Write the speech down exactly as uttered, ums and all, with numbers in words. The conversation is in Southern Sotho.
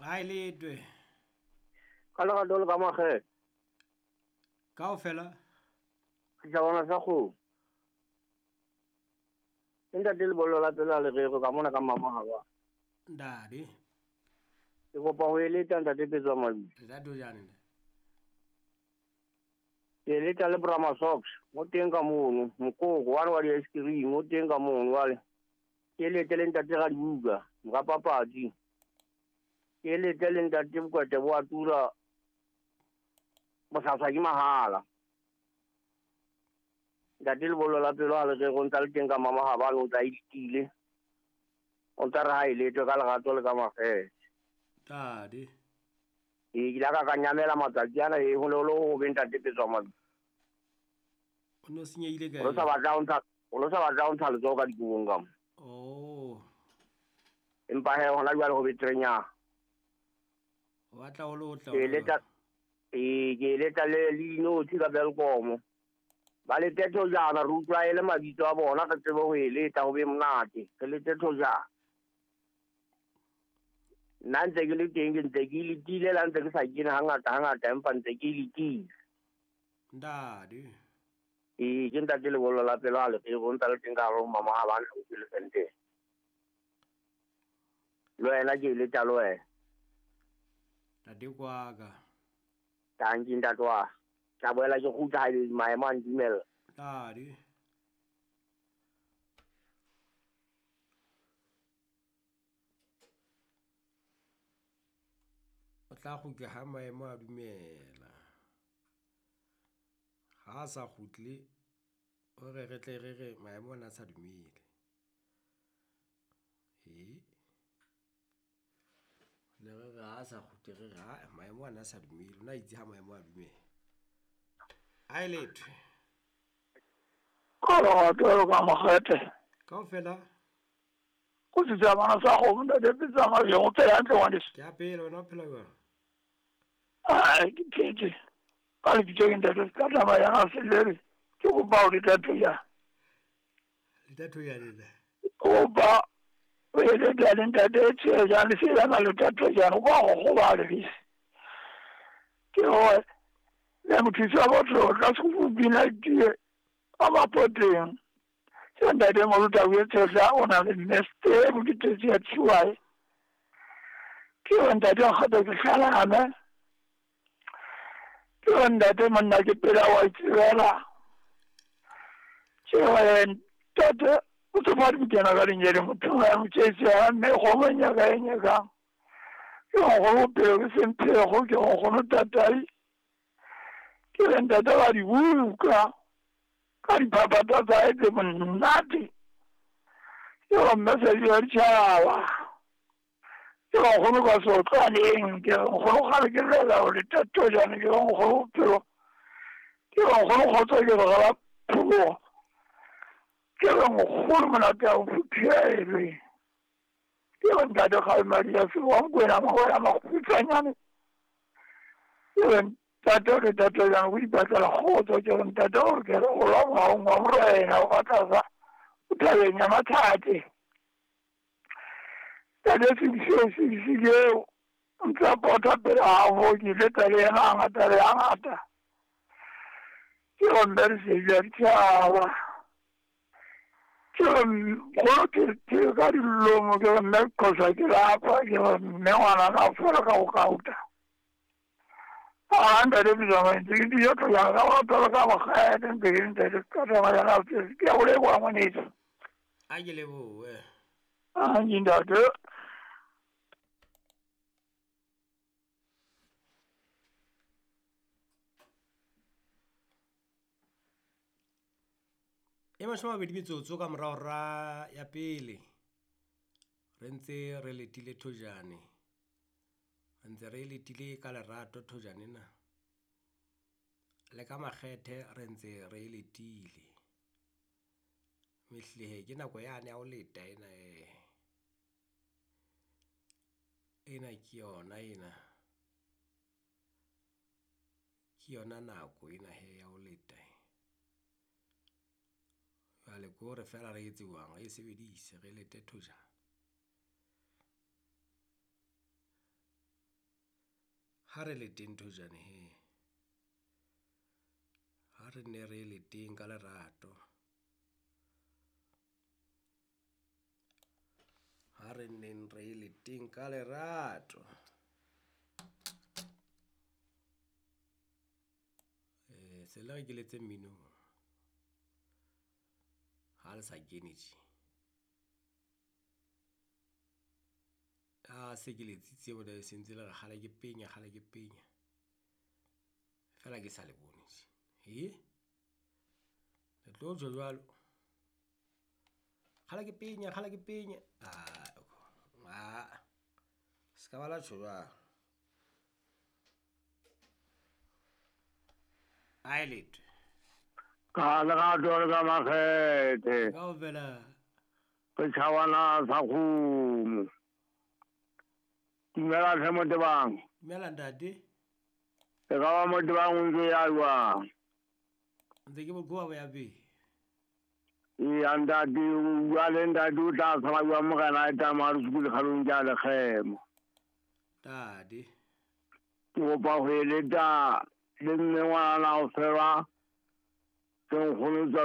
Ga e letwe. Ka lerato le ka makgethe. Kaofela. Setjhabana sa kgomo. Ke ntate lebollo la pelo a lereko ka mona ka Mmamahaba. Ntate. Ke kopa ho eleta ntate Petswa Mabitso. Ntate o jane ntate. Ke eleta le Brahma Socks, mo teng ka mono, mokoko wa wa di-ice cream, o teng ka mono jwale. Ke elete le ntate Radibuka, mora papadi. Ke elete le ntate Bokwete bo a tura bosaswa ke mahala. Ntate lebollo la pelo a lereko o ntsa le teng ka Mmamahaba, o ntsa itile. O ntsa re ha e letwe ka lerato le ka makgethe. Ntate. Ee, ke ile ka ka nyamela matsatsi ana e ho le ho be ntate Petswa Mabitso. O no senyehile kae? O lo sa batla ho ntsha, o lo sa batla ho ntsha letsoho ka dikobong ka mo. Oh. Empa he hona jwale ho beterenyana. O batla ho lo tla. Ke eleta, ee, ke eleta le le dinotshi ka Welkom. Ba lete thojana re utlwa e le mabitso a bona re tsebe ho eleta ho be monate. Re lete thojana. Nna ntse ke le teng ke ntse ke letile la ntse ke sa kene hangata hangata empa ntse ke letile. Ntate. Ee, ke ntate lebollo la pelo a lereko o ntsa le teng ka hare ho Mmamahaba haufi le Sandton. Le wena ke eleta le wena. Ntate kwaka. Tanki ntate wa. Tla boela ke kgutla ha e maemo a ntumella. Ntate. O tla kgutla ha maemo a dumela. Ha a sa kgutle, o re re tle re re maemo ana a sa dumele. E ne re re ha a sa kgutle re re ha maemo ana a sa dumele. O na itse ha maemo a dumela. A e letwe. Ka lerato le ka makgethe. Kaofela. Go setjhabana sa kgomo ntate Petswa Mabitso, o phela hantle ngwaneso. Ke a phela, wena o phela jwang? Ai, ke phetse. Ka lebitso ke ntate ka taba ya selele. Ke kopa ho leta thoya. Leta thoya le. Kopa o eleta le ntate Tshejane le sela leta thoya o ba go goba le bese. Ke hore le mothusi wa botho tla se go bina tie a ba poteng. Se ntate Moruta o etsa o na le neste bo ke tse ya tshuae. Ke hore ntate kgotsa ke hlalana. Ke hore ntate monna ke pela wa itsebela. Ke hore ntate o tsofadi bokena ka lenyele motho ya motšhese ya mme kgomo e nyaka e nyakang. Ke hore nkgono bophelo ke semphego, ke hore nkgono tatai. Ke re ntate ba di buka ka diphaphatha tsa hae tse monate. Ke hore mme se di ditjhaba. Ke hore nkgono ka sotlwaneng, ke hore nkgono kgale ke llela ho leta thojana, ke hore nkgono bophelo. Ke hore nkgono kgotso ke re ga pholoha. Ke hore nkgono monate ha o phuthelwe. Ke hore ntate Kgalema ya se wa Mokwena Mawela makgutshwanyane. Ke hore ntate re tate jang o ipatlela kgotso, ke hore ntate o re ke re o lwa mohaong wa morena o ka tlasa o thabeng ya mathate. Ntate Sibiseo Sibisile o ntse a pota pele habo ke ile tsa le yena hangata le hangata. Ke hore mme re se ja ditjhaba. Ke hore nkgono ke ke ka dilomo, ke hore mme qhosa ke lapa, ke hore mme ngwana na fola ka ho kauta. Ah, ntate Petswa Mabitso, ke dijo tloja ka lerato le ka makgethe, ntse ke ntate ka taba ya ka ke a o leboha ngwaneso. A ke lebohe. Ah, ntate. E mashome a mabedi metsotso ka morao ra ya pele. Re ntse re letile thojane. Re ntse re letile ka lerato thojane na. Le ka makgethe re ntse re letile. Mehlehe ke nako yane ya ho leta ena e. Ena ke yona ena. Ke yona nako ena he ya ho leta. Jwale ke hore feela re etse jwang, re e sebedise re lete thojana. Ha re le teng thojane he. Ha re ne re le teng ka lerato. Ha re neng re le teng ka lerato. Eh, se le re ke letse mmino. Ha le sa kene tje. A se ke letsitse mona e sentse le re kgale ke penya, kgale ke penya. Fela ke sa le bone tje. He? Le tlo tjho jwalo. Kgale ke penya, kgale ke penya. Ah, ah. Se ka ba la tjho jwalo. Ai letho. Ka lerato le ka makgethe. Kaofela. Setjhabana sa kgomo. Dumela tlhe Motebang. Dumela ntate. E ka ba Motebang o ntse ya jwang? Ntse ke bokoa bo ya pele. Eya ntate, o bua le ntate o tla tshaba jwang morena a tsamaya re sukule kgalong tsa lekgemo. Ntate. Ke kopa ho eletsa le mme ngwana o fela tse nkgono tsa